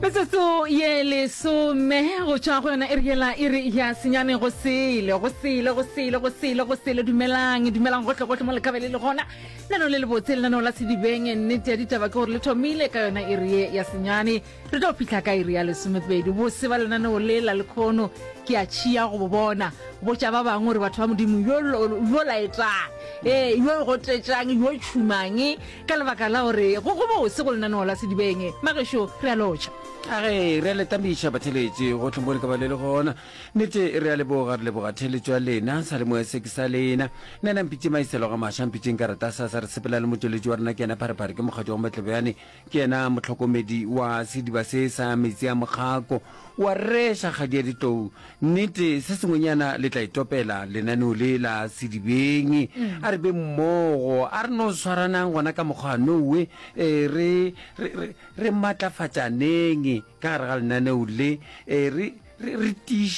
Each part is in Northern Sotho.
Metsotso ye lesome go tšwa go yona e re yela e re ya senyane go sele go sele go sele go sele go sele. Dumelang, dumelang gohle gohle mo le ka be le le gona. Lenaneo le lebotse, lenaneo la Sedibeng. Nnete ya ditaba ke gore le thomile ka yona iri ye ya senyane, re tlo fihla ka iri ya lesomepedi. Bose ba lenaneo le la lekhono ke a tšhia go bo bona. Botša ba bangwe gore batho ba Modimo yo yo laetang, ee, yo gotetšang, yo tšhumang, ka lebaka la gore go go bose go lenaneo la Sedibeng. Magešo, re a lotšha. A ge re a le tamiša batheeletši gohle mo le ka ba le le gona. Nnete re a leboga, re leboga theeletšo ya lena, sa le moya se ke sa lena. Nna mpitše Maiselo ga Maša, mpitšeng karata sa sa re sepela le motšweletši wa rena ke yena Pharephare, ke mokgadi wa Matlebjane, ke yena mohlokomedi wa sediba se sa metsi a mokgako wa reša kgadi ya ditlou. Nnete se sengwenyana le tla itopela lenaneo le la Sedibeng. A re be mmogo, a re no swaranang gona ka mokgwa nowe, e, re, re, re, re matlafatšaneng ka gare ga lenaneo le, e, re, re, re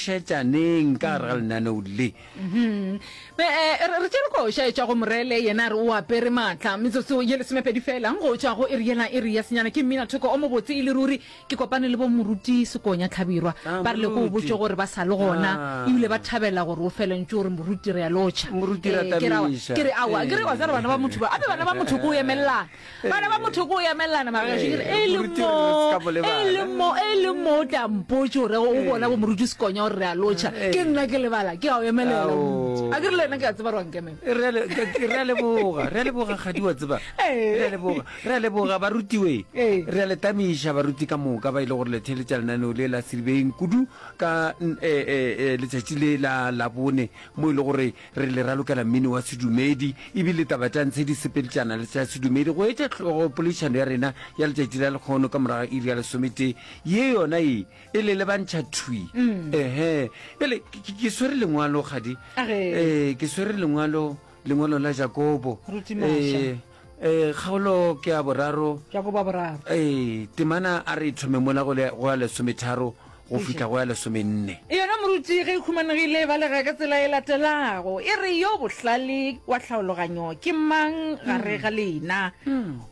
tiišetšaneng ka gare ga lenaneo le. Mhm. Be, eh, re, re tšere koša e tšwa go Morele, yena a re o apere maatla. Metsotso ye lesomepedi fela go tšwa go iri yela, iri ya senyane. Ke mminathoko o mobotse e le ruri. Ke kopane le bo Moruti Sekonya Hlabirwa, Ah, ba rile ko o Moruti. botše gore ba sa le gona, Ah. ebile ba thabela gore o fele ntše o re Moruti re a lotšha. Moruti Eh, ke re aowa, ratamiša. ke re aowa, ke re wa tseba bana ba motho ba, ape bana ba motho ko o emelelana. Bana ba motho ko o emelelana magagešu, ke re e le Moruti mo, re se ka mo e lebala. le mo, e le mo o tla mpotše gore o bona bo Moruti Sekonya gore re a lotšha. Ke nna ke lebala, ke a o emelela Ao. Moruti. A ke re le wena ke a tseba gore wa nkemela. Re a le- ke- ke- re a leboga, re a leboga kgadi wa tseba. Ee. Re a leboga. Re a leboga barutiwe. Ee. Re a le tamiša baruti ka moka ba e le gore le theeletša lenaneo le la Sedibeng kudu ka e, e, e, letšatši le la Labone mo e le gore re le ralokela mmino wa sedumedi ebile taba tša ntshe di sepeltšana le tša sedumedi go etša hlogo poledišano ya rena ya letšatši la lekgono ka morago ga iri ya lesometee ye yona e e le lebantšha thwi. Ehe. Bjale ke, ke, ke swere lengwalo kgadi. Age. Ee, ke swere lengwalo, lengwalo la Jakobo. Ruti Maša. Ee. Ee, kgaolo ke ya boraro. Jakobo wa boraro. Ee, temana a re e thome mola go le, go ya lesometharo go fihla go ya lesomenne. Yona moruti ge e humanegile e balega ka tsela e latelago, e re, Yo bohlale wa tlhaologanyo ke mang gare ga lena?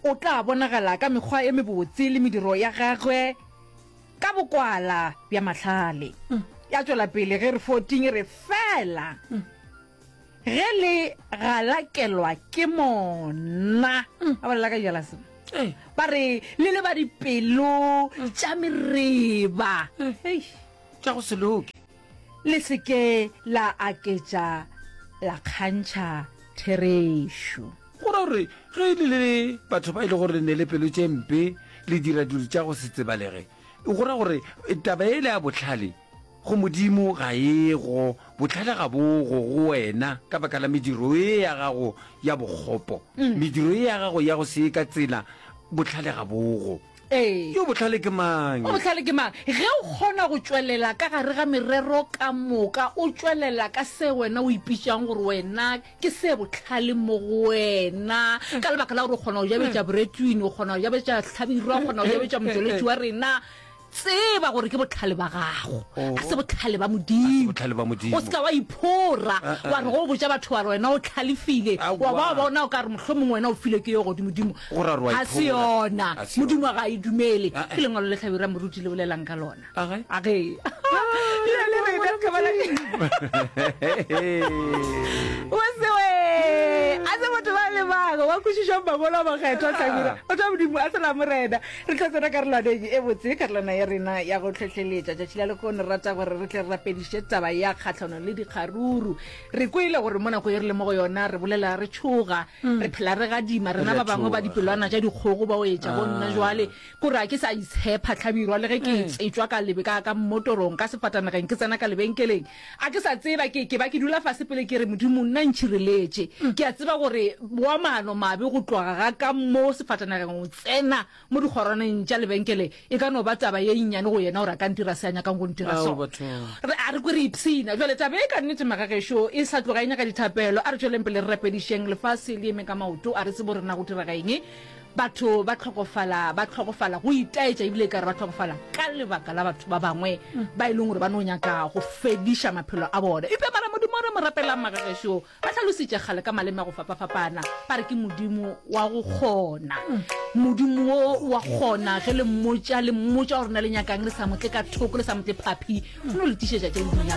O tla bonagala ka mekgwa e mebotse le mediro ya gagwe ka bokwala bja mahlale. Ya tšwela pele ge re 14 e re, Fela Ge le galakelwa ke mona, ba bolela ka jealousy, ba re le le ba dipelo tša mereba, tša go se loke. Le se ke la aketša la kgantšha therešo. Go ra gore ge le le batho ba e le gore le ne le pelo tše mpe, le dira dilo tša go se tsebalege, go ra gore taba yela ya bohlale Go Modimo ga e go, bohlale ga bo go go wena ka baka la mediro ye ya gago ya bokgopo, mediro ye ya gago ya go se ye ka tsela, bohlale ga bo go. Ee. Yo bohlale ke mang? O bohlale ke mang? Ge o kgona go tšwelela ka gare ga merero ka moka, o tšwelela ka se wena o ipitšang gore wena ke se bohlale mo go wena, ka lebaka la gore o kgona go jabetša Bretwin, o kgona go jabetša Hlabirwa, o kgona go jabetša motšweletši wa rena, Tseba gore ke bohlale ba gago, a se bohlale ba Modimo. Bohlale ba Modimo. O se ka wa iphora, wa re go botša batho wa re wena o hlalefile, wa ba wa bona o ka re mohlomongwe wena o filwe ke yo godimodimo. Go ra gore wa Ga se iphora. yona. Ga se Modimo yona. ga a e dumele. Ah, eh. Ke lengwalo le Hlabirwa Moruti le bolelang ka lona. Age. Age. Le le rena ka bala. O se we. A se motho ba le bangwe ba kwešišang mangwalo a makgethwa Hlabirwa. Batho ba Modimo a se la Morena. Re tlo tsena karolwaneng e botse, karolwana ya rena ya go hlohleletša. Tšatši la lehono re rata gore re tle re rapediše taba ya kgahlano le dikgaruru. Re kwele gore mo nako ye re le mo go yona re bolela re tšhoga, re phela re gadima. Rena ba bangwe ba dipelwana tša dikgogo ba o etša bo nna jwale, kore ga ke sa itshepa Hlabirwa le ge ke tšwa ka lebe ka ka mmotorong, ka sefatanageng ke tsena ka lebenkeleng. A ke sa tseba, ke, ke ba ke dula fase pele ke re, Modimo, nna ntšhireletše. Ke a tseba gore wa maano mabe go tloga ga ka mo sefatanageng go tsena mo dikgorwaneng tša lebenkele e ka no ba taba ye nnyane go yena gore a ka ntira se a nyakang go ntira Ao, sona. bathong. Re, a re kwe re ipshina. Bjale taba ye ka nnete, magagešo, e sa tloga e nyaka dithapelo. A re tšweleng pele re rapedišeng lefase le eme ka maoto. A re tsebe gore na go direga eng. Batho ba hlokofala, ba hlokofala, go itaetša ebile ekare ba hlokofala ka lebaka la batho ba bangwe ba e leng gore ba no nyaka go fediša maphelo a bona. Eupša mara. Modimo o re mo rapelang magagešo, ba hlalositše kgale ka maleme a go fapafapana, ba re ke Modimo wa go kgona. Modimo wo wa kgona ge le mmotša, le mmotša gore na le nyakang, le sa mo tle ka thoko, le sa mo tle phaphi, o no le tišetša tše le di nyakago.